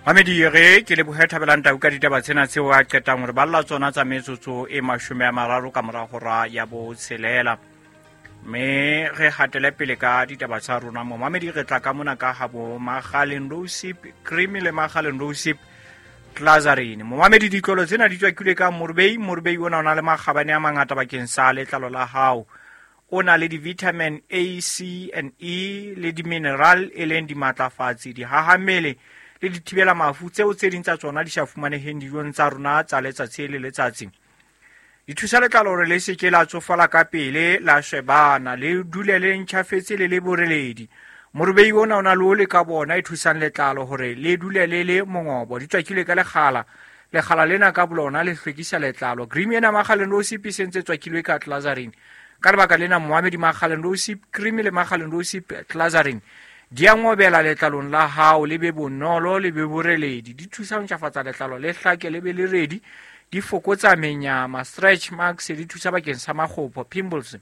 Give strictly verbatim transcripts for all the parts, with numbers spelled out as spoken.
Mamedi re ke lebohe Thabelang Tau ka ditaba tsena tseo a qetang hore balla tsona tsa metsotso e mashome a mararo ka mora hora ya botshelela. Mme re hatele pele ka ditaba tsa rona mo. Mamedi re tla ka mona ka habo Makgaleng Rosip Cream le Makgaleng Rosip Clazarin. Momamedi ditlolo tsena di tswakilwe ka Morbei. Morbei ona o na le makgabane a mangata bakeng sa letlalo la hao. O na le di-vitamin A, C and E le di-mineral e leng dimatlafatsi, dihahammele le dithibela mafu tseo tse ding tsa tsona di sa fumaneheng dijong tsa rona tsa letsatsi le letsatsi. Di thusa letlalo hore le se ke la tsofala ka pele, la shebana, le dule le ntjhafetse le le boreledi. Morubei ona o na le ole ka bona e thusang letlalo hore le dule le le mongobo. Di tswakilwe ka lekgala. Lekgala lena ka bolona le hlwekisa letlalo. Cream ena Makgaleng Rosip e sentse tswakilwe ka Clazarin. Ka lebaka lena Mohamedi Makgaleng Rosip Cream le Makgaleng Rosip Clazarin di a ngobela letlalong la hao, le be bonolo, le be boreledi. Di thusa ho ntjhafatsa letlalo le hlake, le be le redi. Di fokotsa menyama, stretch marks, di thusa bakeng sa makgopo, pimples.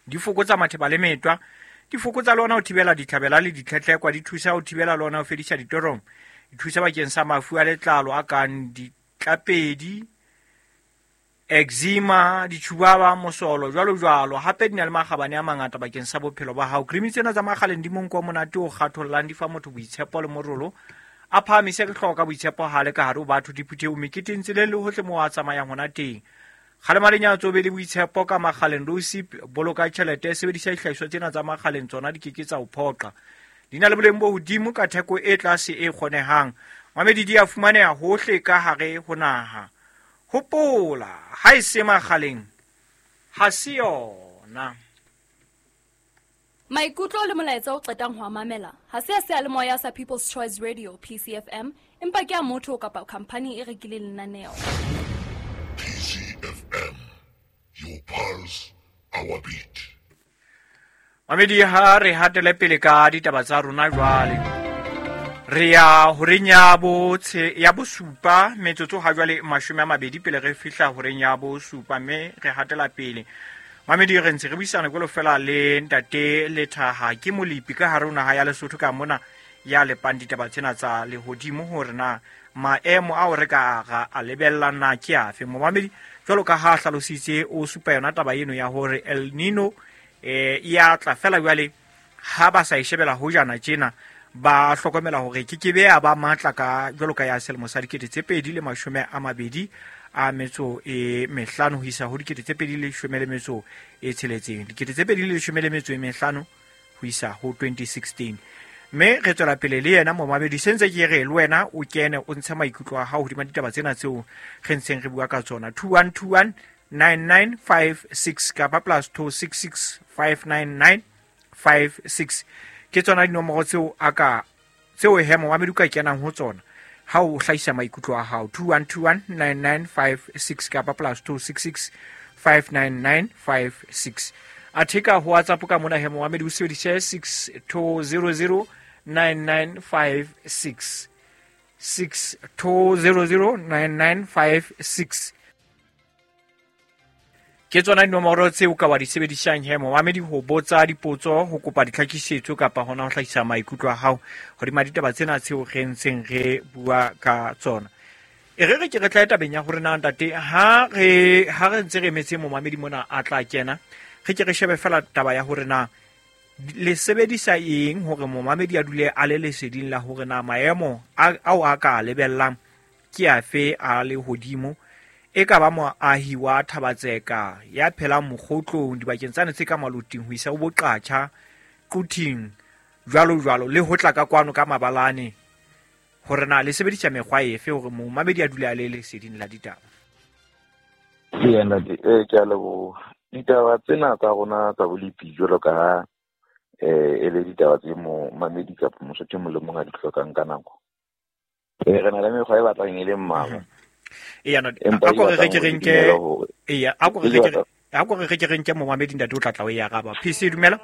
Di fokotsa matheba le metwa. Di fokotsa le ona ho thibela ditlhabela le ditlhetlhekwa. Di thusa ho thibela le ona ho fedisa ditorong. Di thusa bakeng sa mafu a letlalo a kang ditlapedi, eczema, ditjhubaba, mosolo, jwalo jwalo. Hape di na le makgabane a mangata bakeng sa bophelo ba hao. Cream tsena tsa Makgaleng di monko o monate o kgathollang, di fa motho boitshepo le morolo. A phahamise hlooho ka boitshepo ha le ka hare ho batho, diphuthehong, meketeng, tseleng le hohle moo a tsamayang hona teng. Kgalema lenyatso, be le boitshepo ka Makgaleng Rosip. Boloka tjhelete, sebedisa dihlahiswa tsena tsa Makgaleng, tsona di ke ke tsa o phoqa. Di na le boleng bo hodimo ka theko e tlase e kgonehang. Mamedi di a fumaneha hohle ka hare ho naha. Hopola, ha e se Makgaleng, ha se yona. Maikutlo le molaetsa o qetang ho a mamela ha se a seyalemoya sa People's Choice Radio P C F M, empa ke a motho kapa khampani e rekileng lenaneo. P C F M, your pulse, our beat. Mamedi ha re hatele pele ka ditaba tsa rona jwale. Re ya horeng ya botshe ya bosupa metsotso ha jwale mashome a mabedi pele re fihla horeng ya bosupa, mme re hatela pele. Mamedi re ntse re buisana jwalo fela le ntate Lethaha ke molepi ka hare ho naha ya Lesotho ka mona ya lepang ditaba tsena tsa lehodimo hore na maemo ao re ka ra a lebella na ke afe. Momamedi jwalo ka ha hlalositse o supa yona taba eno ya hore El Nino eh ya tla fela jwale ha ba sa e shebela hojana tjena ba hlokomela hore ke ke be ya ba matla ka jwalo ka ya selemo sa dikete tse pedi le mashome a mabedi a metso e mehlano ho isa ho dikete tse pedi le leshome le metso e tsheletseng, dikete tse pedi le leshome le metso e mehlano ho isa ho twenty sixteen. Mme re tswela pele le yena momamedi, sentse ke re le wena o kene o ntshe maikutlo a hao hodima ditaba tsena tseo re ntseng re bua ka tsona. Two one two one nine nine five six kapa plus two six six five nine nine five six ke tsona dinomoro tseo a ka tseo he momamedi o ka kenang ho tsona ha o hlahisa maikutlo a hao. Two one two one nine nine five six kapa plus two six six five nine nine five six. Athe ka ho WhatsApp ka mona he momamedi o sebedise six two zero zero nine nine five six, six two zero zero nine nine five six. Ke tsona dinomoro tseo ka wa di sebedisang he momamedi ho botsa dipotso, ho kopa ditlhakisetso kapa hona ho hlahisa maikutlo a hao hodima ditaba tsena tseo re ntseng re bua ka tsona. E re re ke re tla tabeng ya hore na ntate ha re ha re ntse re emetse momamedi mona a tla kena, re ke re shebe fela taba ya hore na le sebedisa eng hore momamedi a dule a le leseding la hore na maemo ao a ka lebellang ke afe a le hodimo. E ka ba moahi wa Thabatseka ya phelang mokgotlong dibakeng tsane tse ka Maloting ho isa ho Boqatjha, Quthing, jwalo jwalo, le ho tla ka kwano ka Mabalane, hore na le sebedisa mekgwa efe hore momamedi a dule a le leseding la ditaba. Ee, ntate, eh, ke a leboha. Ditaba tsena tsa rona tsa bolepi jwalo ka ha eh e le ditaba tse momamedi kapa mosotho e mong le mong a di hlokang ka nako. Eh, re na le mekgwa e batlang e le mmalwa. Eya, no, a ko re re ke re nke, eya, a ko re re ke a ko re re ke re nke momamedi ntate o tla tla o e araba. P C dumela.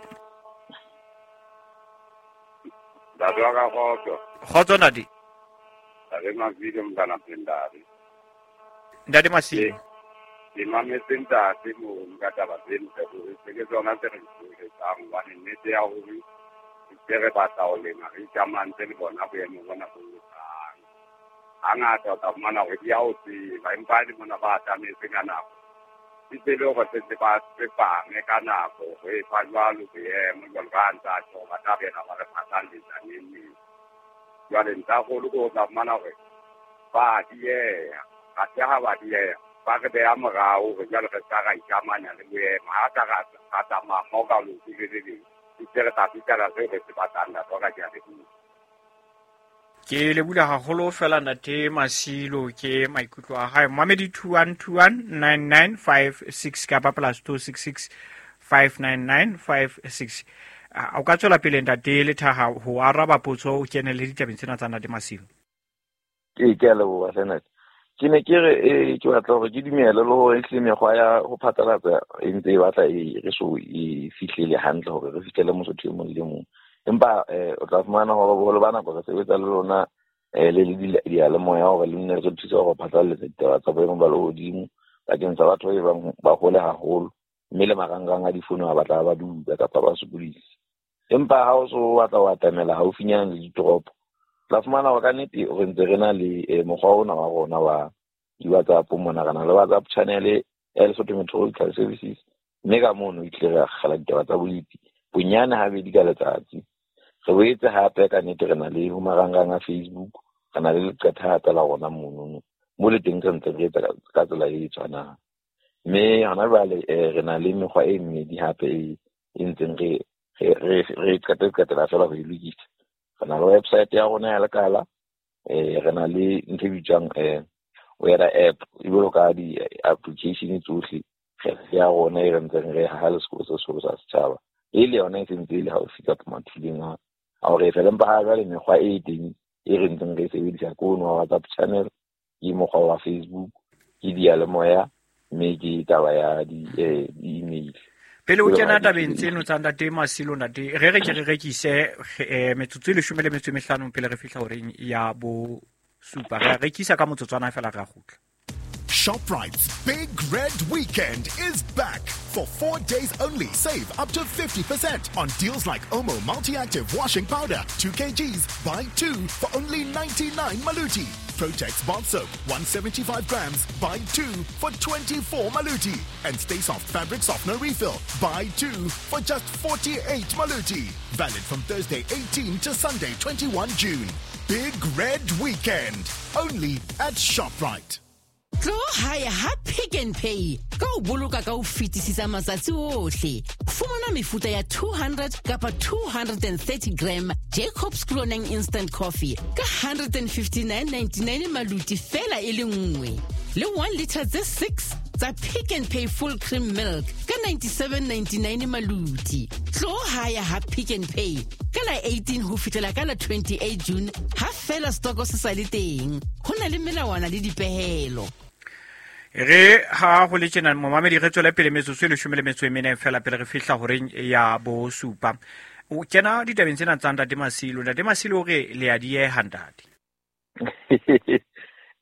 Ntate wa ka kgotso. Kgotso ntate. Ntate Masilo mntana Phendare. Ntate Masilo. Ke mametse ntate mo ka taba tseno tsa hore ke tsona tse re di etsang hobane nnete ya hore se re batla ho lema re ikamantse le bona boemo bona bo. Hangata o tla fumana hore di a o tseba, empa le mona ba atametse ka nako. Di tsebe hore setse ba tsepame ka nako, ho e fa jwalo boemo jwalo ka ha ntse a tjho, ba tla bela ba re phatlalletsa neng neng. Jwale ntlhakgolo ke o tla fumana hore ba dieha, athe ha ba dieha ba re beha morao hore jwale re ska ra ikamanya le boemo. Ha ka ra tsamaya mmoho ka leoto le le leng, itse re tla fihlela seo re se batlang, ntate wa ka, ke a leboha. Ke lebula haholo fela ntate Masilo ke maikutlo a hae. Momamedi two one two one nine nine five six kapa plus two six six five nine nine five six. O ka tswela pele ntate Lethaha ho araba potso o kene le ditabeng tsena tsa ntate Masilo. Ee, ke a leboha hle ntate. Ke ne ke re eh ke batla hore ke dumele le hore ehlile mekgwa ya ho phatlalatsa e ntse e batla e re so e fihlele hantle hore re fihlele mosotho e mong le mong. Empa eh o tla fumana hore boholo ba nako re sebetsa le lona eh le le diyalemoya hore le nne re thuse hore phatlalatsa ditaba tsa boemo ba lehodimo bakeng sa batho ba bang ba hole haholo, mme le marangrang a difounu ha batla ba duba kapa ba sokodisa. Empa ha o so batla ho atamela haufinyana le ditoropo, tla fumana hore ka nnete re ntse re na le mokgwa ona wa rona wa di-WhatsApp mona, re na le WhatsApp channel ya Lesotho Meteorological Services, mme ka mono e tlile re akgela ditaba tsa bolepi bonyane habedi ka letsatsi. Re boetse hape ka nnete re na le ho marangrang a Facebook, re na le leqephe hape la rona monono mo le teng re ntse re etsa ka tsela e tshwanang. Mme hona jwale re na le mekgwa e mmedi hape e ntseng re re re qete-qetela fela ho e lokisa. Re na le website ya rona ya lekala, eh re na le ntho e bitswang eh weather app, e jwalo ka di-application tsohle ya rona e re ntseng re haha le sekolo se seholo sa setjhaba, e le yona e sentse e le haufi kapa mathuleng a hore fela. Empa ha jwale mekgwa e teng e re ntseng re e sebedisa ke ono wa WhatsApp channel, ke mokgwa wa Facebook, ke diyalemoya, mme ke taba ya di-email. Pele o kena tabeng tseno tsa ntate Masilo, ntate re re ke re rekise metsotso e leshome le metso e mehlano pele re fihla horeng ya bo supa. Re rekisa ka motsotswana fela re a kgutla. ShopRite's Big Red Weekend is back. For four days only, save up to fifty percent on deals like Omo Multi-Active Washing Powder, two kilograms, buy two for only ninety-nine maluti. Protex Bath Soap, one seventy-five grams, buy two for twenty-four maluti. And Stay Soft Fabric Softener Refill, buy two for just forty-eight maluti. Valid from Thursday eighteenth to Sunday twenty-first June. Big Red Weekend, only at ShopRite. Tlo hae ha Pick n Pay ka o boloka ka ho fetisisa matsatsi ohle. Fumana mefuta ya two hundred kapa two hundred thirty gram Jacobs Cloning Instant Coffee ka one fifty-nine ninety-nine maluti fela e le nngwe. Le one liter tse six tsa Pick n Pay Full Cream Milk ka ninety-seven ninety-nine maluti. Tlo hae ha Pick n Pay ka la eighteen ho fihlela ka la twenty-eight June ha fela stoko se sa le teng. Ho na le melawana le dipehelo. Re ha ho le tjena momamedi re tswele pele metsotso e leshome le metso e mene fela pele re fihla horeng ya bo supa. O kena ditabeng tsena tsa ntate Masilo. Ntate Masilo o re le a dieha ntate.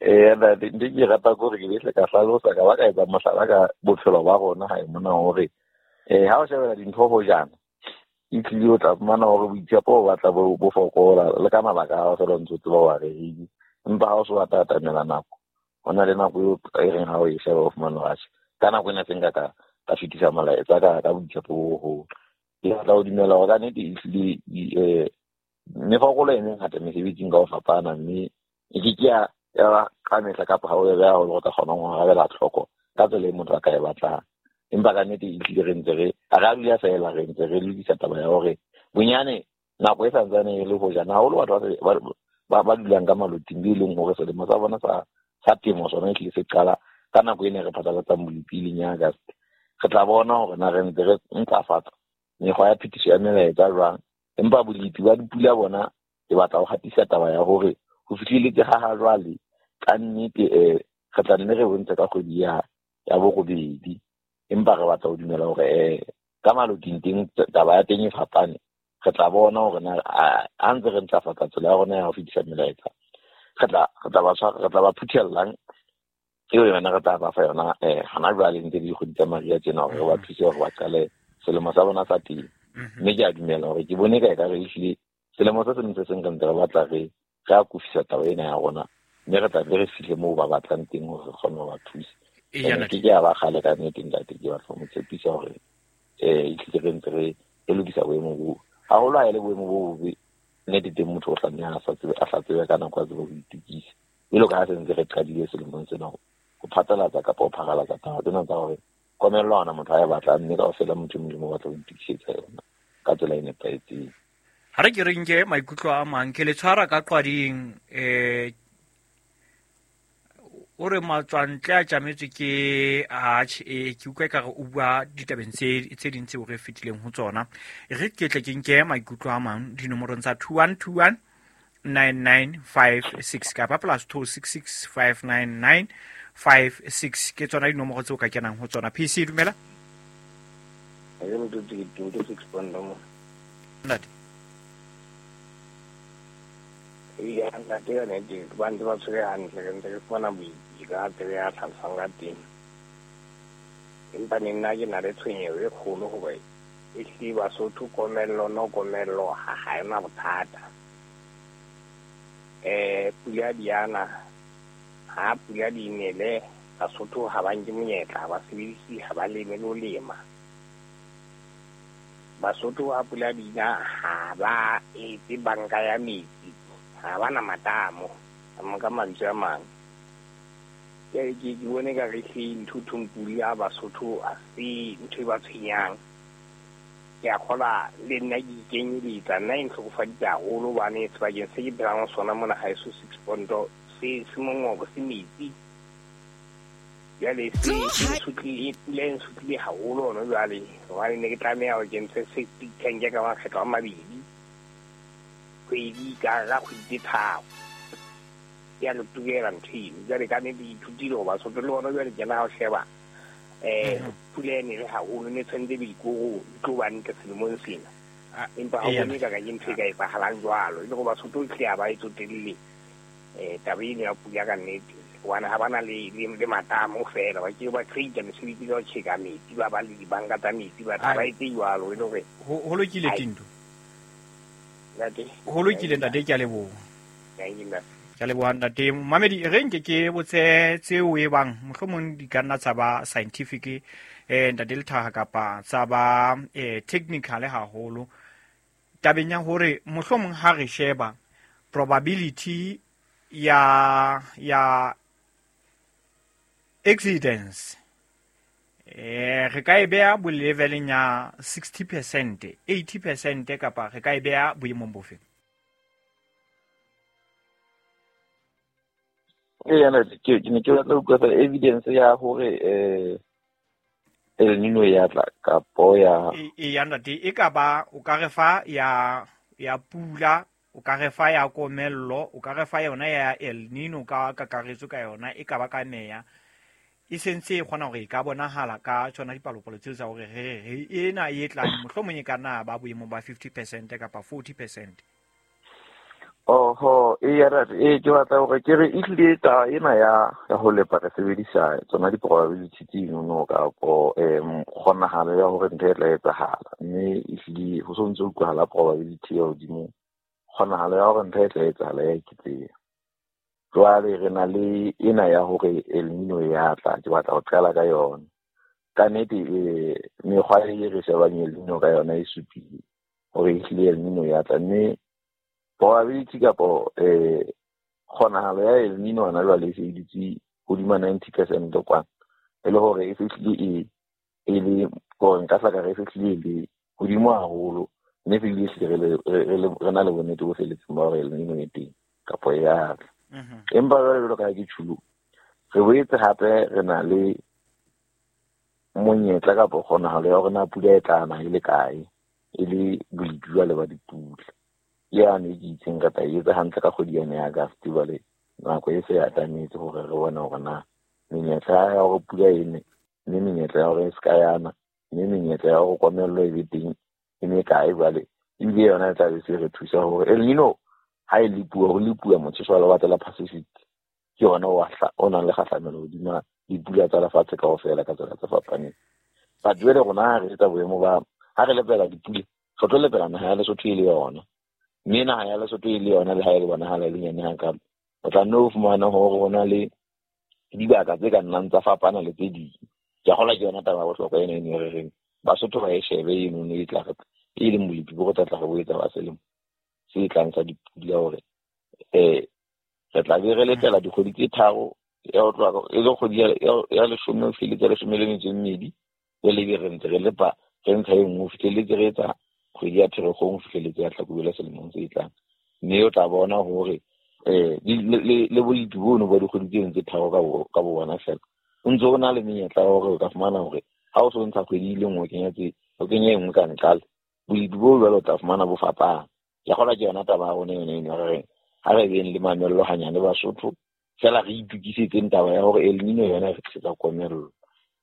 Eh ntate, ntho ke rata ke hore ke behle ka hlalosa ka ba ka etsa mohlala ka bophelo ba rona hae mona hore eh ha o shebela dintho ho jana e tlile o tla fumana hore boitshepo bo batla bo fokola le ka mabaka a fela ntse o tseba wa rehile, empa ha o so batla atamela nako ho na le nako eo e reng ha o e sheba o fumana hore atjhe ka nako ena tse nka ka ka fetisa molaetsa ka ka boitshepo bo boholo. Ke batla ho dumela hore ka nnete ehlile eh mefokolo e mengata mesebetsing ka ho fapana, mme e ke ke ya ya ka mehla kapa ha o e beha hore o ka kgona ho arabela tlhoko ka tsela e motho a ka e batlang. Empa ka nnete ehlile re ntse re ha re a dula feela, re ntse re lokisa taba ya hore bonyane nako e santsane e le hojana haholo batho ba ba ba dulang ka maloting be leng hore selemo sa bona sa sa temo sona ehlile se qala ka nako ena re phatlalatsang bolepi e leng ya August. Re tla bona hore na re ntse re ntlafatsa mekgwa ya phetiso ya melaetsa jwang, empa bolepi ba dipula bona ke batla ho hatisa taba ya hore ho fihleletse ha ha jwale ka nnete eh re tla nne re bontshe ka kgwedi ya ya borobedi, empa re batla ho dumela hore eh ka maloting teng taba ya teng e fapane. Re tla bona hore na ha ntse re ntlafatsa tsela ya rona ya ho fetisa melaetsa re tla re tla ba tshwara, re tla ba phuthelang eo yona re tla ba fa yona eh hana jwale ntse dikgwedi tsa mariha tjena hore re ba thuse hore ba qale selemo sa bona sa temo. Mme ke a dumela hore ke bone ka ekare ehlile selemo se seng se seng re ntse re batla re re akofisa taba ena ya rona Mme re tla be re fihle moo ba batlang teng hore re kgone ho ba thusa. Ke ke a ba kgale ka nnete ntate, ke batla ho mo tshepisa hore eh ehlile re ntse re re lokisa boemo boo. Haholo ha e le boemo bo bobe, nnete teng motho o tlameha a sa tsebe a hla tsebe ka nako a tsebe ho itokisa. Jwalo ka ha se ntse re qadile selemong sena ho phatlalatsa kapa ho pharalatsa taba tsena tsa hore komello ha hona motho a e batlang, mme kaofela motho e mong le mong o batla ho itokisetsa yona ka tsela e nepahetseng. Ha re ke re nke maikutlo a mang, ke le tshwara ka qwading eh o re matswantle a tjametswe ke atjhe e ke utlwa ekare o bua ditabeng tse tse ding tseo re fetileng ho tsona. E re ke tle ke nke maikutlo a mang dinomorong tsa two one two one nine nine five six kapa plus two six six five nine nine five six ke tsona dinomoro tseo ka kenang ho tsona. P C dumela. Ntate. Ya ntate ka nnete ba ntse ba tshwere hantle, re ntse re fumana boipi ka tsela ya tlhalosang ka teng. Empa ne nna ke na le tshwenyeho e kgolo hoba ehlile Basotho komello no komello ha ha ena bothata. Eh pula di ana, ha pula di nele Basotho ha ba nke monyetla, ha ba sebedise, ha ba leme le ho lema. Basotho ha pula di na ha ba etse banka ya metsi, ha ba na matamo ka mantswe a mang. Ke ke ke bone ka re hle ntho thong pula Basotho a se ntho e ba tshwenyang. Ke a kgola le nna ke ikenyeletsa, nna e ntlhokofaditse haholo hobane sebakeng se ke phelang ho sona mona haeso six ponto se se mongobo se metsi. Jwale se se sutlile, pula e nsutlile haholo hona jwale hobane ne ke tlameha hore ke ntshe septic tank ka makgetlo a mabedi kgwedi ka ka kgwedi tse tharo. Ya re tukela ntho eno. Jwale ka nnete ke ithutile hoba Basotho le bona jwale kena ha o sheba eh pula e nele haholo, ne tshwanetse be dikoro di tlo ba ntle selemong sena. Empa ha o bone ka ka ke ntho e ka etsahalang jwalo. E le hoba Basotho ehlile ha ba e tsotelle eh taba eno ya pula ka nnete. Hobane ha bana le le matamo feela, ba ke ba create mesebetsi ka ho tjheka metsi, ba ba le dibanka tsa metsi, ba ba etse jwalo e le hore ho lokile Tinto. Ntate. Ho lokile ntate, ke a leboha. Ke a leboha ntate. Mamedi, re nke ke botse tseo e bang mohlomong di ka nna tsa ba scientific eh ntate Lethaha kapa tsa ba eh technical haholo. Tabeng ya hore mohlomong ha re sheba probability ya ya accidents eh re ka e beha bo leveleng ya sixty percent, eighty percent kapa re ka e beha boemong bofe? Ee, ke ne ke batla ho utlwa feela evidence ya hore eh El Nino ya tla kapo ya e ya ntate e ka ba o ka re fa ya ya pula, o ka re fa ya komello, o ka re fa yona ya El Nino ka kakaretso ka yona e ka ba ka meya e sentse e kgona hore e ka bonahala ka tsona dipalopalo tseo tsa hore re re ena e tlang mohlomong e ka nna ba boemong ba fifty percent kapa forty percent. Oho, e ya re e ke batla hore ke re ehlile taba ena ya ya ho lepa re sebedisa tsona di-probability tseno kapo um kgonahalo ya hore ntho e tla etsahala, mme ehlile ho so ntse ho utlwahala probability ya hodimo, kgonahalo ya hore ntho e tla etsahala ya eketseha. Jwale re na le ena ya hore El Nino ya tla, ke batla ho qala ka yona. Ka nnete eh mekgwa e re shebang El Nino ka yona e supile hore ehlile El Nino ya tla, mme probability kapo eh kgonahalo ya El Nino hona jwale e se e dutse hodima ninety percent kwana, e le hore e fihlile e e le hore nka hla ka re e fihlile e le hodimo haholo, mme fihlile ehlile re na le bonnete bo felletseng ba hore El Nino e teng kapo ya tla. Empa jwale jwalo ka ha ke tjhulo, re boetse hape re na le monyetla kapo kgonahalo ya hore na pula e tla na e le kae, e le bolepi jwale ba dipula. Yane e ke itseng re tla e etsa hantle ka kgwedi yane ya August, jwale nako e se e atametse hore re bone hore na menyetla ya hore pula e ne, mme menyetla ya hore e se ka yana, mme menyetla ya hore komello e be teng e mekae jwale. Ebile yona e tla be se re thusa hore El Nino ha e lepuwa, ho lepuwa motjheso wa lewatle la Pacific ke yona o nang le kgahlamelo hodima dipula tsa lefatshe kaofela ka tsela tse fapaneng. But jwale rona ha re etsa boemo ba ha re lepela dipula, re tlo lepela naha ya Lesotho e le yona, mme naha ya Lesotho e le yona le ha e le bonahala e le nyane hakalo, O tla nne o fumane hore ho na le dibaka tse ka nnang tsa fapana le tse ding. Ke a kgolwa ke yona taba ya bohlokwa ena eno e re reng Basotho ba e shebe eno e tla re e leng bolepi bo re tla tla re bo etsa ba selemo se tlang sa dipula hore eh re tla be re letela dikgwedi tse tharo ya ho tloha e le kgwedi ya leshome ho fihleletse leshome le metso e mmedi, jwale ebe re ntse re lepa re ntsha e nngwe ho fihleletse re etsa kgwedi ya Pherekgong ho fihleletse ya Hlakubele selemong se tlang. Mme o tla bona hore eh le bolepi bono ba dikgwedi tseno tse tharo ka bo bona fela o ntse o na le menyetla ya hore o ka fumana hore ha o so ntsha kgwedi e le nngwe o kenya tse o kenya e nngwe ka nqale, bolepi bo jwalo o tla fumana bo fapana. Ke a kgolwa ke yona taba ya rona yona eno re reng ha re beng le mamello hanyane Basotho, fela re itokisetseng taba ya hore El Nino yona e re tlisetsa komello.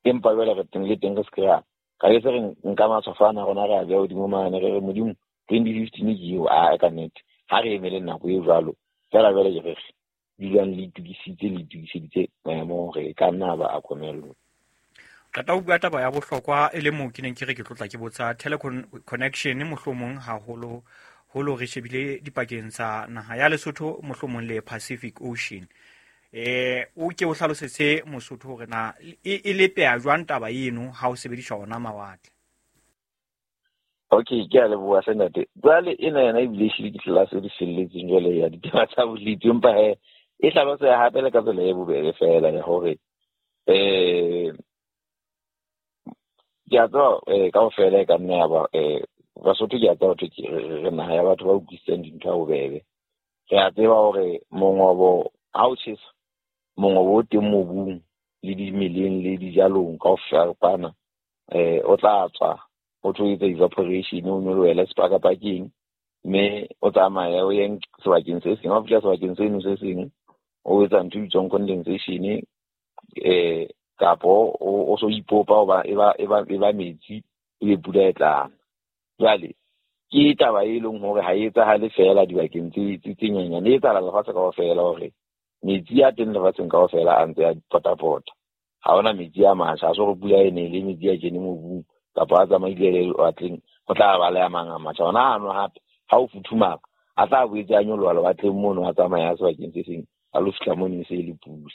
Empa jwale re teng le teng re se ke ra ka ke se re nka matshwafo ana rona re a beha hodimo mane re re Modimo twenty fifteen ke eo, a ka nnete ha re emele nako e jwalo. Fela jwale ke re dulang le itokisitse le itokiseditse maemo hore e ka nna ba a komello. Qeta ho bua taba ya bohlokwa e le moo ke neng ke re ke tlotla ke botsa teleconnection mohlomong haholo holo re shebile dipakeng tsa naha ya Lesotho mohlomong le Pacific Ocean. Eh o ke o hlalosetse Mosotho hore na e lepeha jwang taba eno ha o sebedisa ona mawatle. Okay, ke a leboha hle ntate. Jwale ena yona ebile ehlile ke tlelase e di felletseng jwale ya ditaba tsa bolepi, empa he e hlaloseha hape le ka tsela e bobebe fela ya hore eh ke a tseba eh kaofela e ka nna ya ba eh Basotho ke a tseba hore re naha ya batho ba utlwisisang dintho ha bobebe. Re a tseba hore mongobo ha o tjhesa, mongobo o teng mobung le dimeleng le dijalong kaofela eh o tla tswa o tlo etsa evaporation, o nyolohele sepakapakeng, mme o tsamaya o ye sebakeng se seng. Ha o fihla sebakeng seno se seng o etsa ntho e bitswang condensation eh kapo o so ipopa hoba e ba e ba e ba metsi ebe pula e tlang. Jwale ke taba e leng hore ha e etsahale fela dibakeng tse tse nyenyane, e etsahala lefatshe kaofela hore metsi a teng lefatsheng kaofela a ntse a potapota. Ha hona metsi a matjha, ha se hore pula e nele metsi a kene mobung kapa a tsamaile le lewatleng ho tla ba le a mang a matjha. Ona ano hape ha o futhumala a tla boetse a nyoloha lewatleng mono, a tsamaya sebakeng se seng a lo fihla mono e se e le pula.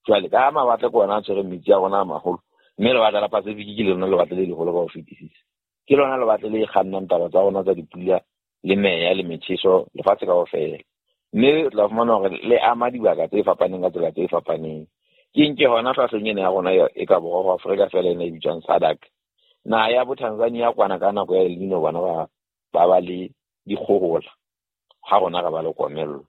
Jwale ka mawatle ke ona a tshwereng metsi a rona a maholo, mme lewatle la Pacific ke lona lewatle le leholo ka ho fetisisa. Ke lona lewatle le kgannang taba tsa rona tsa dipula le meya le metjheso lefatshe kaofela. Mme o tla fumana hore le ama dibaka tse fapaneng ka tsela tse fapaneng. Ke nke hona hlahleng ena ya rona e ka borwa ho Afrika fela ena e bitswang SADC. Naha ya bo Tanzania kwana ka nako ya El Nino bona ba ba ba le dikgohola, ha rona re ba le komello.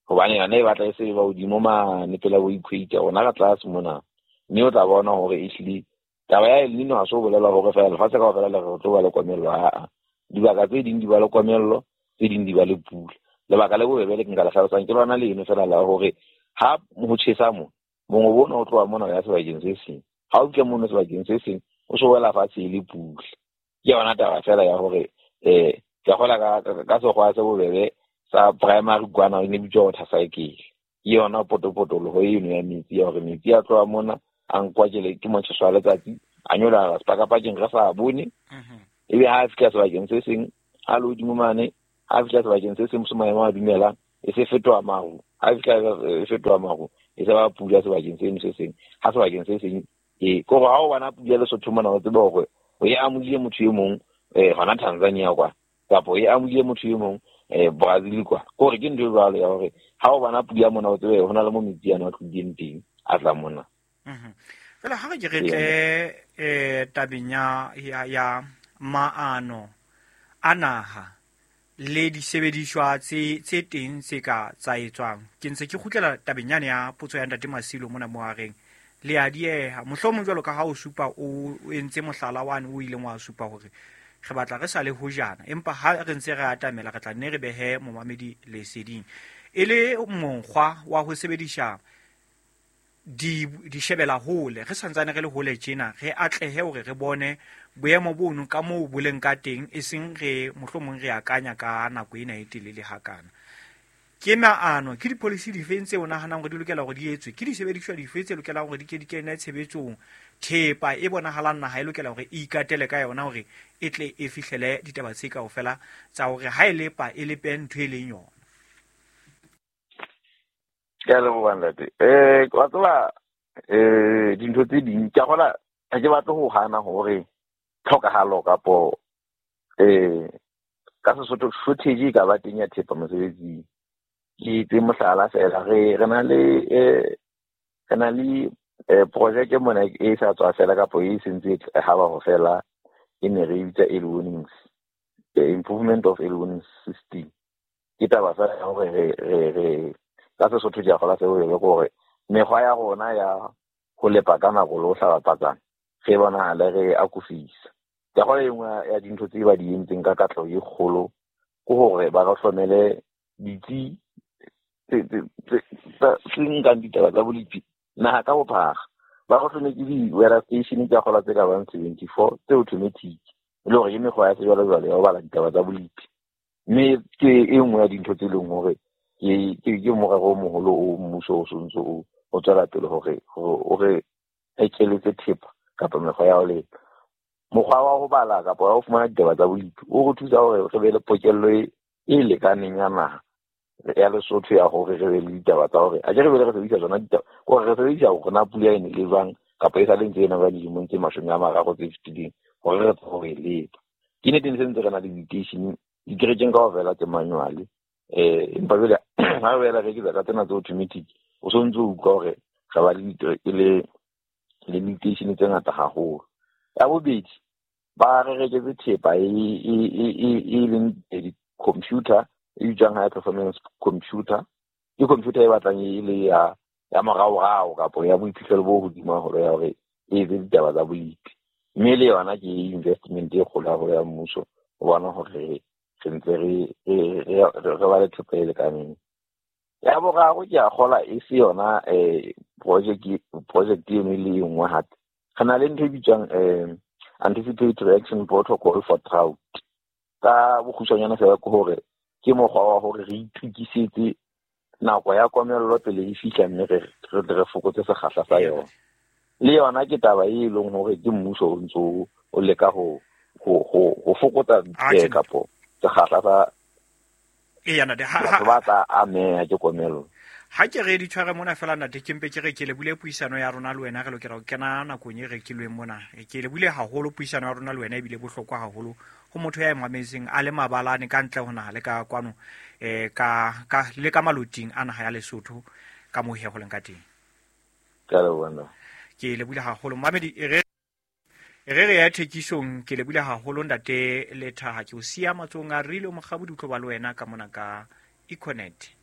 Hobane yona e batla e se ba hodimo mane pela bo equator, rona ka tlase mona. Mme o tla bona hore ehlile taba ya El Nino ha se ho bolela hore fela lefatshe kaofela le re tlo ba le komello, aa. Dibaka tse ding di ba le komello, tse ding di ba le pula. Lebaka le bobebe le ke nka le hlalosang ke lona leno fela la hore ha ho tjhesa mo, mongobo ona o tloha mona o ya sebakeng se seng. Ha o fihla mono sebakeng se seng o so wela fatshe e le pula. Ke yona taba fela ya hore eh ke a kgolwa ka ka sekgwa se bobebe sa primary kwana e ne bitswa water cycle. Ke yona potopotoloho eno ya metsi ya hore metsi a tloha mona a nkwa ke ke motjheso wa letsatsi a nyolohela sepakapakeng re sa bone. Ebe ha a fihla sebakeng se seng a le hodimo mane, ha fihla sebakeng se seng se maemo a dumelang e se fetoha maru, ha fihla e fetoha maru e se ba pula sebakeng seno se seng, ha sebakeng se seng e kore ha o bona pula Lesotho mona o tsebe hore o e amohile motho e mong eh hona Tanzania kwa, kapa o e amohile motho e mong eh Brazil kwa. Kore ke ntho e jwalo ya hore ha o bona pula mona o tsebe hona le mo metsi ana a tlileng teng a tla mona. Fela ha re ke re tle eh tabeng ya ya maano a naha le disebediswa tse tse teng tse ka tsa etswang. Ke ntse ke kgutlela tabeng yane ya potso ya ntate Masilo mona mo a reng le a dieha mohlomong jwalo ka ha o supa o entse mohlala wane o ileng wa supa hore re batla re sa le hojana, empa ha re ntse re atamela re tla nne re behe momamedi leseding e le mokgwa wa ho sebedisa di di shebela hole re santsane re le hole tjena re atlehe hore re bone boemo bono ka moo bo leng ka teng, e seng re mohlomong re akanya ka nako ena e telele hakana. Ke maano ke di-policy dife tse o nahanang hore di lokela hore di etswe, ke disebediswa dife tse lokelang hore di ke di kene tshebetsong, thepa e bonahalang naha e lokela hore e ikatele ka yona hore e tle e fihlele ditaba tse kaofela tsa hore ha e lepa e lepe ntho e leng yona. Ke a leboha ntate. Eh wa tseba eh dintho tse ding ke a kgola ha ke batle ho hana hore tlhokahalo kapo eh ka Sesotho shortage e ka ba teng ya thepa mosebetsing. Ke tse mohlala fela re re na le eh re na le eh project mona e sa tswa fela kapo e sentse e haba ho fela e ne re bitsa early warnings, the improvement of early warning system. Ke taba fela ya hore re re re ka Sesotho ke a kgola seo e le hore mekgwa ya rona ya ho lepa ka nako le ho hlaba patsana re bonahale re akofisa. Ke a kgola e nngwe ya dintho tse ba di entseng ka katleho e kgolo ke hore ba re hlomele ditsi tse tse tse nkang ditaba tsa bolepi naha ka bophara. Ba re hlometse di-weather station tsa kgola tse ka bang seventy-four tse automatic, e le hore ke mekgwa ya sejwalejwale ya ho bala ditaba tsa bolepi. Mme ke e nngwe ya dintho tse leng hore ke ke ke morero o moholo o mmuso o sontso o o tswela pele hore o re ekeletse thepa kapa mekgwa ya ho lepa. Mokgwa wa ho bala kapa wa ho fumana ditaba tsa bolepi o re thusa hore re be le pokello e e lekaneng ya naha ya Lesotho ya hore re be le ditaba tsa hore a ke re bele re sebedisa tsona ditaba hore re sebedisa hore na pula e ne le jwang kapa e sa le ntse e na ba dilemong tse mashome a mararo tse fetileng hore re tsebe ho e lepa. Ke nnete ne sentse re na le diteishene dikerekeng kaofela tse manual eh empa jwale ha re boela re eketsa ka tsena tse automatic o so ntso utlwa hore re ba le le le diteishene tse ngata haholo. Ya bobedi ba re reketse thepa e e e e leng di-computer e bitswang high performance computer. Ke computer e batlang e le ya ya moraorao kapo ya boiphihlelo bo hodimo haholo ya hore e etse ditaba tsa bolepi. Mme le yona ke investment e kgolo haholo ya mmuso ho bona hore re ntse re re re ba le thepa e lekaneng. Ya boraro ke a kgola e se yona eh project project eno e le e nngwe hape. Re na le ntho e bitswang eh anticipatory action protocol for drought. Ka bokgutshwanyane fela ke hore ke mokgwa wa hore re itukisetse nako ya komello pele e fihla mme re re re fokotse sekgahla sa yona. Le yona ke taba e leng hore ke mmuso o ntso o leka ho ho ho ho fokotsa kapo sekgahla sa e yana de ha batho ba tla ameha ke komello. Ha ke re di tshware mona fela ntate ke mpe ke re ke lebule puisano ya rona le wena re lokela ho kena nakong e rekilweng mona. Ke lebule haholo puisano ya rona le wena ebile bohlokwa haholo ho motho ya emametseng a le mabalane ka ntle ho naha le ka kwano eh ka ka le ka maloting a naha ya Lesotho ka moo he ho leng ka teng. Ke a leboha. Ke lebule haholo mamedi e re e re re ya thekisong. Ke lebule haholo ntate Lethaha ke o siya matsohong a Rile Mokgabudi o tlo ba le wena ka mona ka Econet.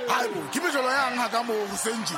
Haebo, ke mejolo yang ha ka moo hoseng tje.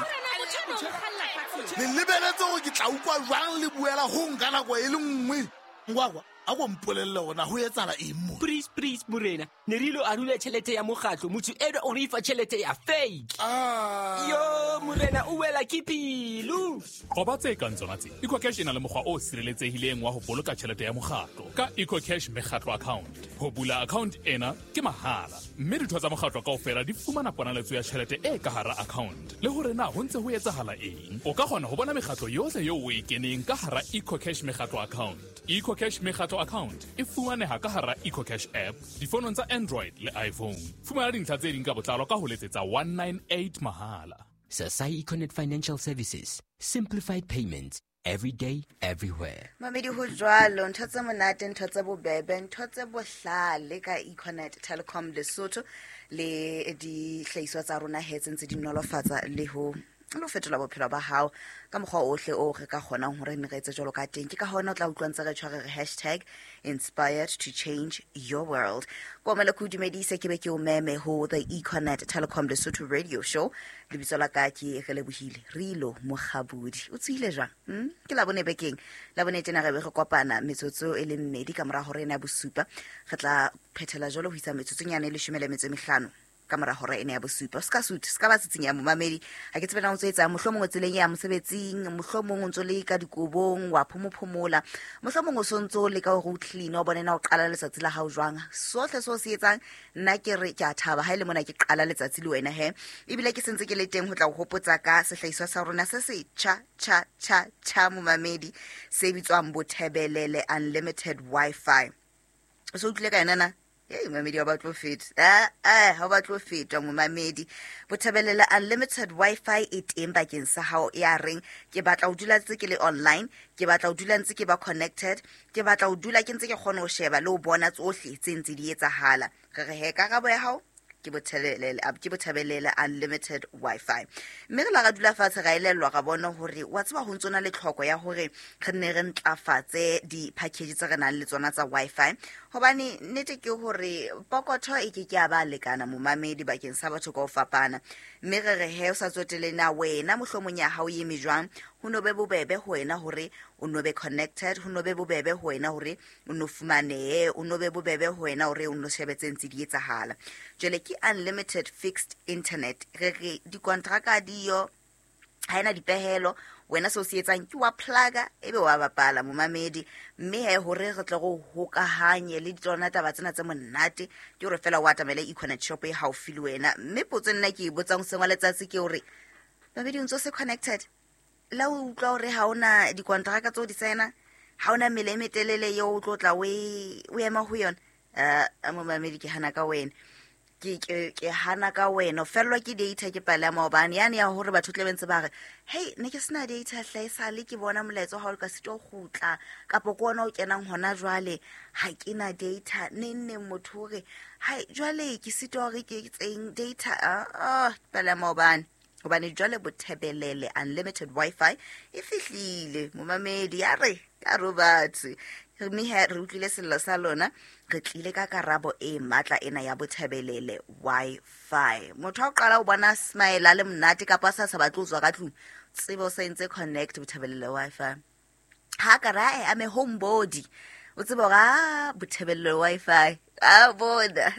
Le lebeletse hore ke tla utlwa jwang le buela ho nka nako e le nngwe. Ngwakwa, a ko mpolelle hore ho etsahala eng mo? Please, please, morena. Ne re ilo arula tjhelete ya mokgatlo, motho enwa o re fa tjhelete ya fake. Ah. Yo, morena o wela ke pelo. Qoba tse kang tsona tse. EcoCash e na le mokgwa o sireletsehileng wa ho boloka tjhelete ya mokgatlo ka EcoCash mekgatlo account. Ho bula account ena ke mahala, mme ditho tsa mokgatlo kaofela di fumana ponaletso ya tjhelete e ka hara account. Le hore na ho ntse ho etsahala eng. O ka kgona ho bona mekgatlo yohle eo o e keneng ka hara EcoCash mekgatlo account. EcoCash mekgatlo account e fumaneha ka hara EcoCash app difonong tsa Android le iPhone. Fumana dintlha tse ding ka botlalo ka ho letsetsa one nine eight mahala. Sasai Econet Financial Services. Simplified payments. Every day, everywhere. Mamedi ho jwalo, ntho tse monate, ntho tse bobebe, ntho tse bohlale ka Econet Telecom Lesotho le dihlahiswa tsa rona he tse ntse di nolofatsa le ho le ho fetola bophelo ba hao ka mokgwa ohle o re ka kgonang hore re etse jwalo ka teng. Ke ka hona o tla utlwa ntse re tshware re hashtag inspired to change your world. Komela ke o dumedise ke be ke o meme ho the Econet Telecom Lesotho radio show. Lebitso la ka ke Relebohile Rilo Mokgabudi. O tswile jwang? Hmm? Ke la bone bekeng. La bone tjena re be re kopana metsotso e le mmedi ka mora hora ena ya bosupa. Re tla phethela jwalo ho isa metsotsonyana e leshome le metso e mehlano ka mora hora ena ya bosupa. Se ka suthe, se ka ba tsitsing ya momamedi. Ha ke tsebe na o ntso etsang, mohlomong o tseleng ya mosebetsing, mohlomong o ntso le ka dikobong, wa phomophomola, mohlomong o sontso le ka hore o clean, o bone na o qala letsatsi la hao jwang. Sohle seo se etsang, nna ke re ke a thaba ha ile mona ke qala letsatsi le wena he. Ebile ke sentse ke le teng ho tla o hopotsa ka sehlahiswa sa rona se se tjha tjha tjha tjha momamedi, se bitswang Bothebelele Unlimited Wi-Fi. O so utlwile ka yona na? Hey, momamedi wa batlo feta. Ah, ah, ha o batlo fetwa momamedi. Bothebelele unlimited Wi-Fi e teng bakeng sa hao ya reng ke batla ho dula ntse ke le online, ke batla ho dula ntse ke ba connected, ke batla ho dula ke ntse ke kgona ho sheba le ho bona tsohle tse ntse di etsahala. Re re he karabo ya hao ke Bothebelele ke Bothebelele unlimited Wi-Fi. Mme re la ra dula fatshe ra elellwa ra bona hore wa tseba ho ntsona le tlhoko ya hore re nne re ntlafatse di-package tse re nang le tsona tsa Wi-Fi. Hobane nnete ke hore pokotho e ke ke ya ba lekana momamedi bakeng sa batho ka ho fapana. Mme re re he o sa tsotele na wena mohlomong ya hao e eme jwang, ho no be bobebe ho wena hore o no be connected, ho no be bobebe ho wena hore o no fumanehe, o no be bobebe ho wena hore o no shebe tse ntse di etsahala. Jwale ke unlimited fixed internet. Re re dikontraka diyo ha ena dipehelo, wena seo se etsang ke wa plug-a ebe wa bapala momamedi. Mme he hore re tle go hokahanye le tsona taba tsena tse monate ke hore fela o atamele Econet shop e haufi le wena. Mme potso nna ke e botsang hoseng wa letsatsi ke hore mamedi o ntso se connected, la o utlwa hore ha ona dikontraka tseo di signa, ha ona mele e metelele eo o tlo tla o e o ema ho yona. Eh momamedi ke hana ka wena, ke ke ke hana ka wena, o fellwa ke data ke pale ya maobane yane ya hore batho tle bentse ba re hey ne ke sena data hle sale ke bona molaetsa ha o ka sito kgutla kapa ke ona o kenang hona jwale ha ke na data ne nne motho hore hai jwale ke sito hore ke tseng data ah pale ya maobane. Hobane jwale Bothebelele unlimited Wi-Fi e fihlile momamedi ya re ka robatse. Mme he re utlwile sello sa lona, re tlile ka karabo e matla ena ya Bothebelele Wi-Fi. Motho ha o qala o bona smile a le monate kapa a sa sa batle ho tswa ka tlung, tsebo o sa entse connect Bothebelele Wi-Fi. Ha ka ra e ame homebody, o tsebe hore ah Bothebelele Wi-Fi a bona.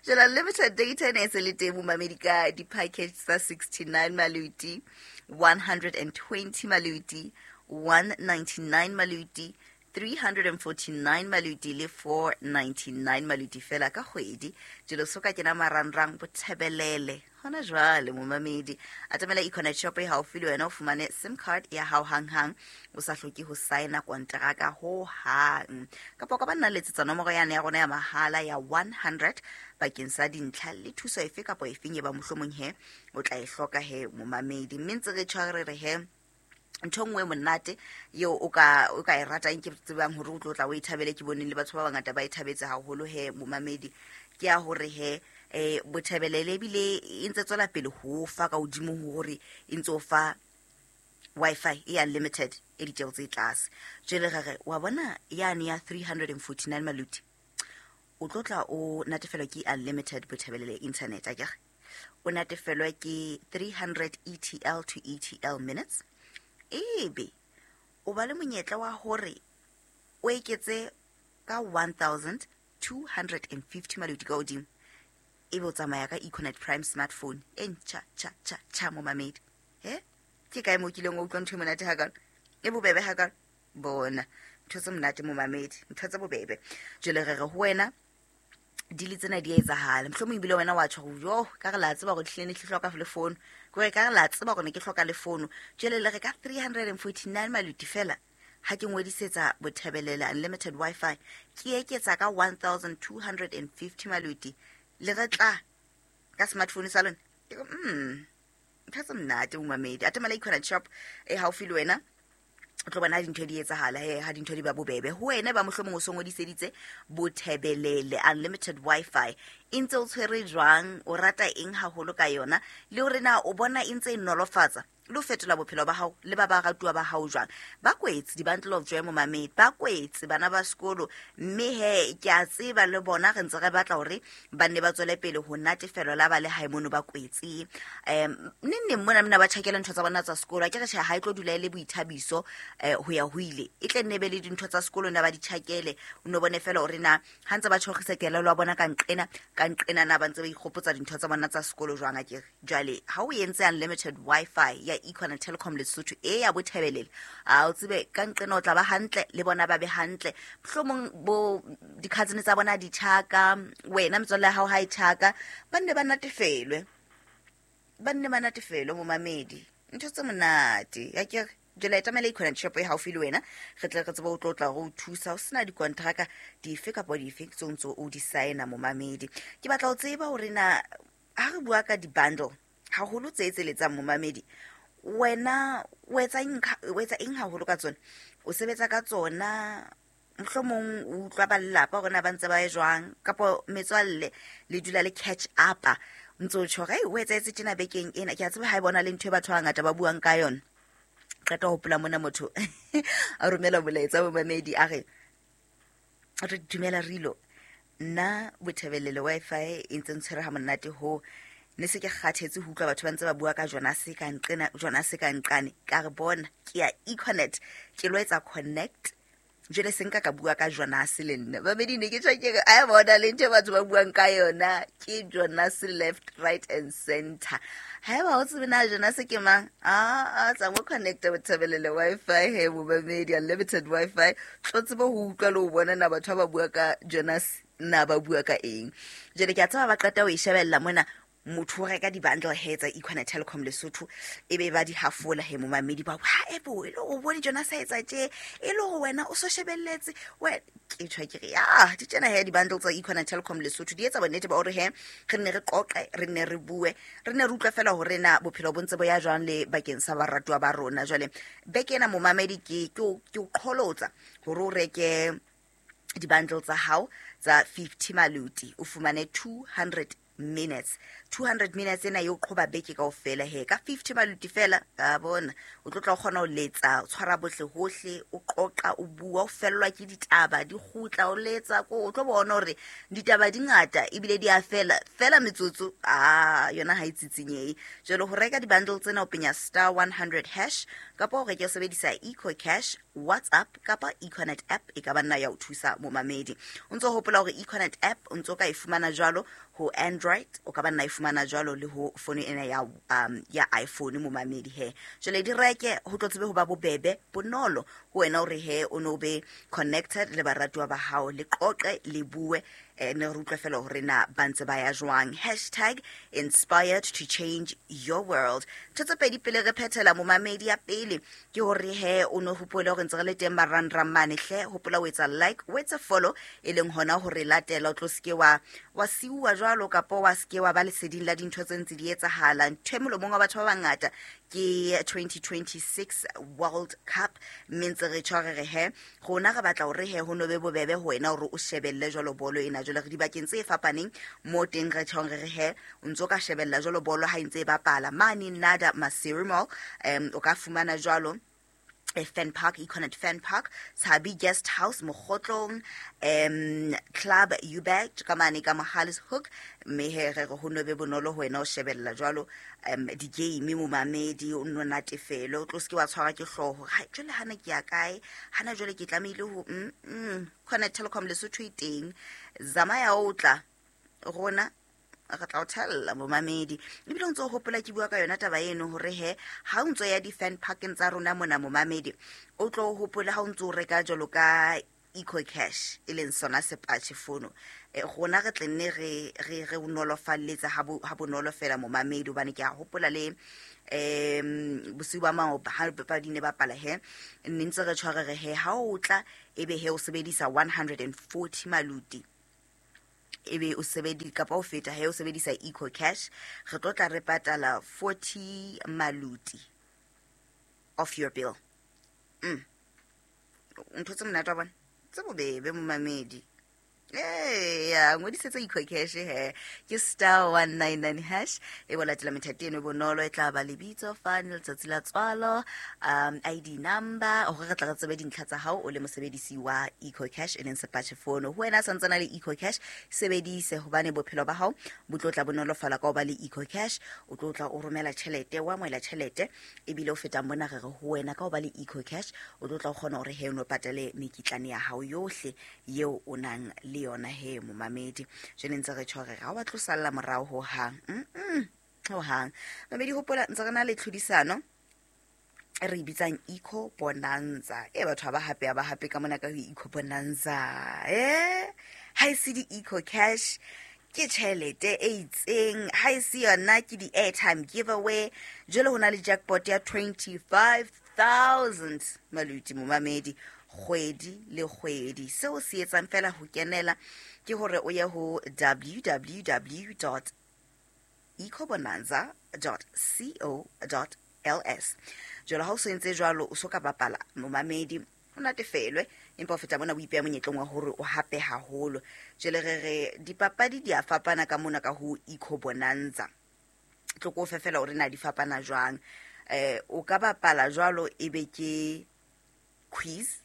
Jwale unlimited data ne se le teng momamedi ka di-package tsa sixty-nine maluti, one hundred and twenty maluti, one ninety-nine maluti, three hundred and forty-nine maluti le four ninety-nine maluti fela ka kgwedi. Jwale so ka kena marangrang Bothebelele hona jwale momamedi. Atamela Econet shop e haufi le wena o fumane SIM card ya hao hanghang o sa hloke ho signa kontraka ho hang. Kapa o ka ba nna letsetsa nomoro yane ya rona ya mahala ya one hundred bakeng sa dintlha le thuso efe kapa efeng e ba mohlomong he o tla e hloka he momamedi. Mme ntse re tshware re he ntho nngwe monate eo o ka o ka e ratang ke tsebang hore o tlo tla o e thabele, ke boneng le batho ba bangata ba e thabetse haholo he momamedi, ke ya hore he eh Bothebelele ebile e ntse tswela pele ho fa ka hodimo hore e ntse o fa Wi-Fi e unlimited e ditjeo tse tlase. Jwale re re wa bona yane ya three hundred and forty-nine maluti o tlo tla o natefelwa ke unlimited Bothebelele internet akere, o natefelwa ke three hundred E T L to E T L minutes, ebe o ba le monyetla wa hore o eketse ka one thousand two hundred and fifty maluti ka hodimo, ebe o tsamaya ka Econet Prime smartphone e ntjha tjha tjha tjha momamedi. He ke kae mo kileng wa utlwa ntho e monate hakalo e bobebe hakalo? Bona ntho tse monate momamedi, ntho tse bobebe. Jwale re re ho wena dile tsena di a etsahala, mohlomong ebile wena wa tjho hore yo ka re la tseba hore hlile ne ke hloka le phone, ke hore ka re la tseba hore ne ke hloka le phone. Jwale le re ka three hundred and forty-nine maluti fela ha ke ngodisetsa Bothebelele unlimited Wi-Fi ke eketsa ka one thousand two hundred and fifty maluti le re tla ka smartphone sa lona. Mm ntho tse monate momamedi. Atamela Econet shop e haufi le wena o tlo bona dintho di etsahala he ha dintho di ba bobebe ho wena ba mohlomong o so ngodiseditse Bothebelele unlimited Wi-Fi e ntse o tshwere jwang, o rata eng haholo ka yona, le hore na o bona e ntse e nolofatsa le ho fetola bophelo ba hao le ba ba ratuwa ba hao jwang. Ba kwetse di-bundle of joy momamedi, ba kwetse bana ba sekolo, mme he ke a tseba le bona re ntse re batla hore ba nne ba tswele pele ho natefelwa la ba le hae mono ba kwetse. Um neng neng mona mona ba tjhakela ntho tsa bona tsa sekolo, a ke re tjhe ha e tlo dula e le boithabiso eh ho ya ho ile, e tle nne be le dintho tsa sekolo na ba di tjhakele, o no bone fela hore na ha ntse ba tjhorisa kelello ya bona ka nqena ka nqena na ba ntse ba ikgopotsa dintho tsa bona tsa sekolo jwang akere. Jwale ha o entse unlimited Wi-Fi ya Econet Telecom Lesotho e ya Bothebelele, a o tsebe ka nqena o tla ba hantle le bona ba be hantle, mohlomong bo di-cousin tsa bona di tjhaka, wena metswalle ya hao ha e tjhaka, ba nne ba natefelwe, ba nne ba natefelwe momamedi. Ntho tse monate akere Jwale etamela Econet shop e haufi le wena, re tle re tsebe ho tlo tla re o thusa ho sena dikontraka dife kapa dife tse o ntso o di signa momamedi. Ke batla ho tseba hore na ha re bua ka di-bundle haholo tse tseletsang momamedi, wena o etsa eng o etsa eng haholo ka tsona? O sebetsa ka tsona, mohlomong o utlwa ba lelapa hore na ba ntse ba ye jwang, kapa metswalle le dula le catch up ntso tjho re o etsahetse tjena bekeng ena. Ke a tseba ha e bona le ntho e batho ba bangata ba buang ka yona. Qeta ho hopola mona motho a romela molaetsa momamedi a re re dumela Rilo, nna Bothebelele Wi-Fi e ntse ntshwere ha monate ho ne se ke kgathetse ho utlwa batho ba ntse ba bua ka Jonas ka nqena Jonas ka nqane. Ka re bona ke ya Econet, ke lo etsa connect jwale se nka ka bua ka Jonas le nna. Babedi ne ke tjho ke re a bona le ntho batho ba buang ka yona ke Jonas left right and center. Haeba o tsebe na Jonas ke mang, a a tsa mo connect Bothebelele Wi-Fi he momamedi, unlimited Wi-Fi, tlo tsebe ho utlwa le ho bona na batho ba bua ka Jonas na ba bua ka eng. Jwale ke a tseba ba qeta ho e shebella mona, motho o reka di-bundle he tsa Econet Telecom Lesotho e be ba di hafola he momamedi ba ha ebo e le o bone Jonas a etsa tje, e le hore wena o so shebelletse we ke tjho ke re ya di tjena he di-bundle tsa Econet Telecom Lesotho di etsa bonnete ba hore he re nne re qoqe, re nne re bue, re nne re utlwe fela hore na bophelo bo ntse bo ya jwang le bakeng sa baratuwa ba rona. Jwale beke ena momamedi ke ke o ke o qholotsa hore o reke di-bundle tsa hao tsa fifty maluti o fumane two hundred minutes. two hundred minutes ena yo qhoba beke kaofela he ka fifty maluti fela ka bona o tlo tla kgona ho letsa, o tshwara bohle hohle, o qoqa, o bua, o fellwa ke ditaba di kgutla, o letsa ko o tlo bona hore ditaba di ngata ebile di a fela fela metsotso a yona ha e tsitsinyehe. Jwale ho reka di-bundle tsena o penya star one hundred hash kapa o reke o sebedisa Eco Cash, WhatsApp kapa Econet app e ka ba nna ya o thusa momamedi. O ntso hopola hore Econet app o ntso ka e fumana jwalo ho Android, o ka ba nna e fumana jwalo le ho phone ena ya um ya iPhone momamedi he. Jwale di reke ho tlo tsebe ho ba bobebe bonolo ho wena hore he o no be connected le baratuwa ba hao, le qoqe le bue, eh, ne re utlwe fela hore na ba ntse ba ya jwang. Hashtag inspired to change your world. Ntho tse pedi pele re phethela momamedi, ya pele ke hore he o no hopole hore ntse re le teng marangrang mane hle, hopola o etsa like, o etsa follow, e leng hona hore latela o tlo seke wa wa siuwa jwalo kapa wa seke wa ba leseding la dintho tse ntse di etsahala. Ntho e molomong wa batho ba bangata ke twenty twenty-six World Cup, mme ntse re tjho re re he rona re batla hore he ho no be bobebe ho wena hore o shebelle jwalo bolo ena. Jwale re dibakeng tse fapaneng mo teng re tjhong re re he o ntso ka shebella jwalo bolo ha e ntse e bapala mane Nada Maseru Mall, um o ka fumana jwalo Fan Park, Econet Fan Park, Tshabi Guest House, Mokgotlong, um, Club Ubet, ka mane ka Mohale's Hook, mme he re re ho no be bonolo ho wena o shebella jwalo um di-game momamedi, o nno natefele, o tlo seke wa tshwarwa ke hlooho ha jwale hana ke ya kae, hana jwale ke tlamehile ho mm, mm, Econet Telecom Lesotho e teng, zamaya o tla rona re tla o thella momamedi. Ebile o ntso hopola ke bua ka yona taba eno hore he ha o ntso ya di-fan parkeng tsa rona mona momamedi, o tlo hopola ha o ntso reka jwalo ka Eco Cash e leng sona sepatjhe fono, e rona re tle nne re re re o nolofalletsa ha bo ha bonolo fela momamedi, hobane ke a hopola le um bosiu ba maoba ha papadi ne bapala he nne ntse re tshware re he ha o tla ebe he o sebedisa one hundred and forty maluti ebe o sebedi kapa o feta he o sebedisa Eco Cash, re tlo tla re patala forty maluti off your bill. Mm. Ntho tse monate wa bona tse bobebe momamedi. Eya, ngodisetsa Eco Cash he ke star one nine nine hash, e bo latela methati eno e bonolo, e tla ba lebitso fane, letsatsi la tswalo, um I D number, hore re tla re tsebe dintlha tsa hao o le mosebedisi wa Eco Cash e leng sepatjhe fono. Ho wena santsana le Eco Cash, sebedise hobane bophelo ba hao bo tlo tla bonolofala ka ho ba le Eco Cash. O tlo tla o romela tjhelete, o amohela tjhelete, ebile o feta mona re re ho wena ka ho ba le Eco Cash o tlo tla o kgona hore he o no patale mekitlane ya hao yohle yeo o nang le yona he momamedi. Jwale ntse re tjho re ga wa tlo salla morao ho hang, mm ho hang mamedi. Hopola ntse re na le tlhodisano e re bitsang Eco Bonanza. E batho ba hape ba hape ka mona ka ho Eco Bonanza, eh ha e se di Eco Cash ke tjhelete e itseng, ha e se yona ke di airtime giveaway. Jwale ho na le jackpot ya twenty-five thousand maluti momamedi kgwedi le kgwedi. Seo se etsang fela ho kenela ke hore o ye ho w w w dot ecobonanza dot co dot l s. Jwale ha o se entse jwalo o so ka bapala momamedi o natefelwe, empa o feta mona o ipeha monyetleng wa hore o hape haholo. Jwale re re dipapadi di a fapana ka mona ka ho Ecobonanza. Tlo ko fe fela hore na di fapana jwang. Eh o ka bapala jwalo ebe ke quiz,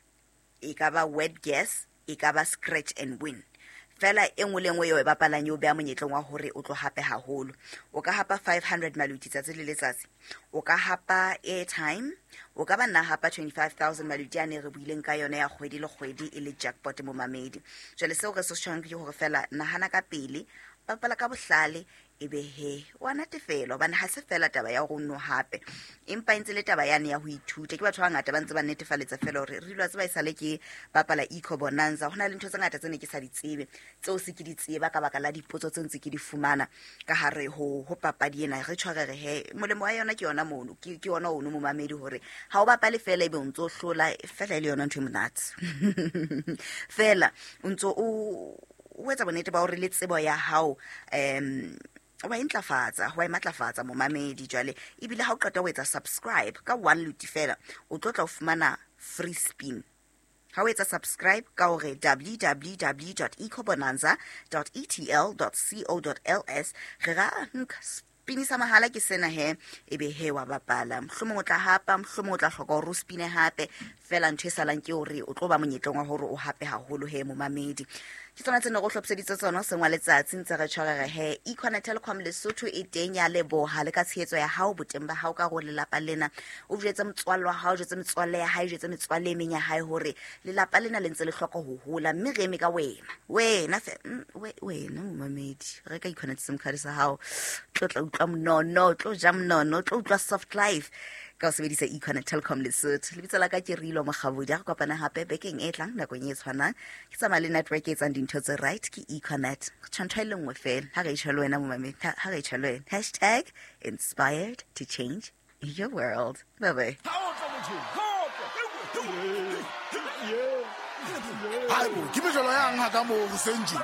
e ka ba word guess, e ka ba scratch and win. Fela e nngwe le nngwe eo e bapalang eo beha monyetleng wa hore o tlo hape haholo. O ka hapa five hundred maluti tsatsi le letsatsi. O ka hapa airtime, o ka ba nna hapa twenty-five thousand maluti a ne re buileng ka yona ya kgwedi le kgwedi e le jackpot momamedi. Jwale seo re se tjhang ke hore fela nahana ka pele, bapala ka bohlale, ebe he wa natefelwa hobane ha se fela taba ya hore o nno hape, empa e ntse le taba yane ya ho ithuta. Ke batho ba bangata ba ntse ba netefaletsa fela hore re ile wa tseba esale ke bapala Ecobonanza, ho na le ntho tse ngata tse ne ke sa di tsebe tseo se ke di tseba ka baka la dipotso tse ntse ke di fumana ka hare ho ho papadi ena. Re tshware re he molemo wa yona ke yona mono, ke ke yona ono momamedi, hore ha o bapale fela ebe o ntso hlola fela e le yona ntho e monate. Fela o ntso o o etsa bonnete ba hore le tsebo ya hao um wa e ntlafatsa, wa e matlafatsa momamedi. Jwale ebile ha o qeta ho etsa subscribe ka one luti fela, o tlo tla o fumana free spin. Ha o etsa subscribe ka hore w w w dot ecobonanza dot e t l dot co dot l s, re ra nka spini sa mahala ke sena he, ebe he wa bapala. Mohlomong o tla hapa, mohlomong o tla hloka hore o spine hape. Fela ntho e salang ke hore o tlo ba monyetleng wa hore o hape haholo he momamedi. Ke tsona tse ne re o hlophiseditse tsona hoseng wa letsatsi, ntse re tshware re he Econet Telecom Lesotho e teng ya leboha le ka tshehetso ya hao, boteng ba hao ka hore lelapa lena o jwetse motswalle wa hao, jwetse metswalle ya hae, jwetse metswalle e meng ya hae hore lelapa lena le ntse le hloka ho hola, mme re eme ka wena. Wena fe wena momamedi, reka Econet SIM card sa hao, tlo tla utlwa monono, tlo ja monono, tlo utlwa soft life ka ho sebedisa Econet Telecom Lesotho. Lebitso la ka ke Rilo Mokgabodi. Re kopana hape bekeng e tlang nakong e tshwanang. Ke tsamaya le network e etsang dintho tse right, ke Econet. Tjho ntho e le nngwe fela, ha re e tjho le wena momamedi, ha re e tjho le wena. Hashtag inspired to change your world. Bye bye. Haebo, ke mejolo yang ha ka mo hoseng tje?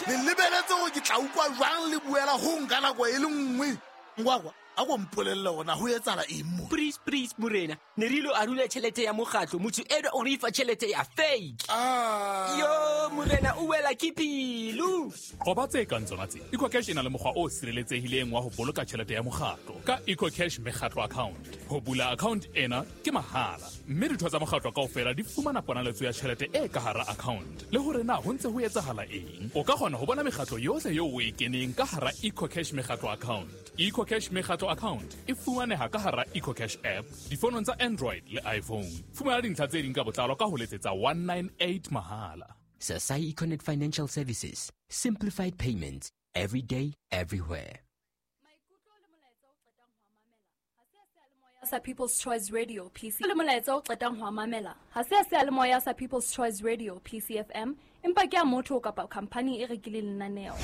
Le lebeletse hore ke tla utlwa jwang le buela ho nka nako e le nngwe. Ngwakwa, a ko mpolelle hore na ho etsahala eng mo? Please, please, morena. Ne re ilo arula tjhelete ya mokgatlo, motho enwa o re fa tjhelete ya fake. Ah. Yo, morena, o wela ke pelo. Qoba tse kang tsona tse. EcoCash e na le mokgwa o sireletsehileng wa ho boloka tjhelete ya mokgatlo ka EcoCash mekgatlo account. Ho bula account ena ke mahala, mme ditho tsa mokgatlo kaofela di fumana ponaletso ya tjhelete e ka hara account. Le hore na ho ntse ho etsahala eng, o ka kgona ho bona mekgatlo yohle eo o e keneng ka hara EcoCash mekgatlo account. EcoCash mekgatlo account e fumaneha ka hara EcoCash app difonong tsa Android le iPhone. Fumana dintlha tse ding ka botlalo ka ho letsetsa one nine eight mahala. Sasai Econet Financial Services. Simplified payments. Every day, everywhere. Sa People's Choice Radio P C. Le molaetsa o qetang ho mamela ha se a seyalemoya sa People's Choice Radio P C F M, empa ke a motho kapa company e rekileng lenaneo.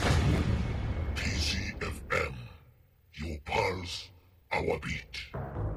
P C F M, your pulse, our beat.